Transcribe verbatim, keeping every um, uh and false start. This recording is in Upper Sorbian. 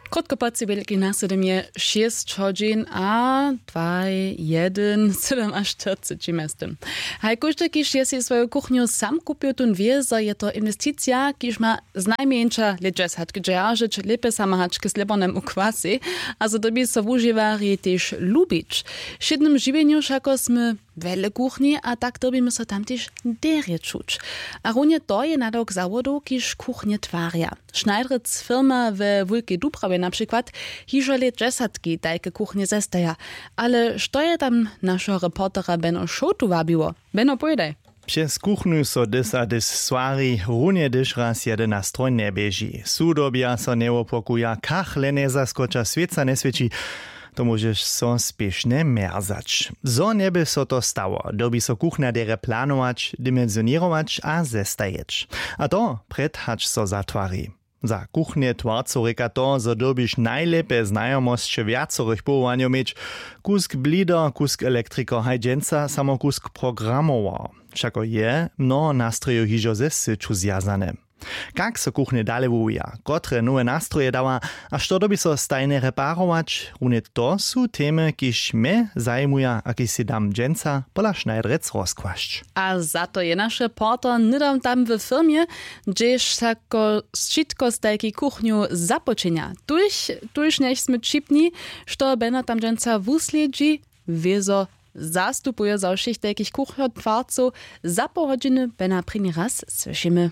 Krótko po tři wjelki na sydym je šěsć hodźin a dwaj jedyn sydym a štyrceći mjeztym. Haj kóždy kiž je sej swoju kuchnju sam kupił, tón wě zo je to inwesticija kiž ma znajmjeńša lětdźesatk dźeržeć lěpje sama hač k slěbornemu kwasej, a zo dyrbi so wužiwarjej tež lubić. W wšědnym žiwjenju wšako smy wjele kuchnje a tak dyrbimy so tam tež derje čuć. A runje to je nadawk zawodow kiž kuchnje twarja. Schneidrec firma we wulkej dubrawje na přikład hižo lětdźesatki tajke kuchnje zestaja. Ale što je tam našeho reportera beno šołtu wabiło? Beno, powědaj. Přez kuchnu so dys a dys swari runje hdyž raz jedyn na stroj njeběži su dyrbja so njewopokuja kachle njezaskoča swěca njeswěći. To móžeš so spěšnje mjerzać zo njeby so to stało dyrbi so kuchna derje planować dimensioněrować a zestajeć. A to prjed hač so zatwari. Za kuchnje twarcow rěka to zo dyrbiš najlěpje znajomosće wjacorych powołanjow měć. Kusk blido kusk elektriko haj dźensa samo kusk programował. Wšako je mnoho nastrojow hižo ze syću zwjazane. Kak so kuchnje dale wuwija, kotre nowe nastroje dawa a što dyrbi so stajnje reparować runje to su temy kiž mje zajimuja a kiž sej dam dźensa pola schneidrec rozkłasć. A za to je naš reporter hnydom tam w firmje, hdźež wšako wšitko stajki kuchnju započinja. Tuž tuž njech smy ćipni što beno tam dźensa wuslědźi. Wězo zastupuje za wšěch tajkich kuchnjotwarcow. Za poł hodźiny bena prěni raz słyšimy.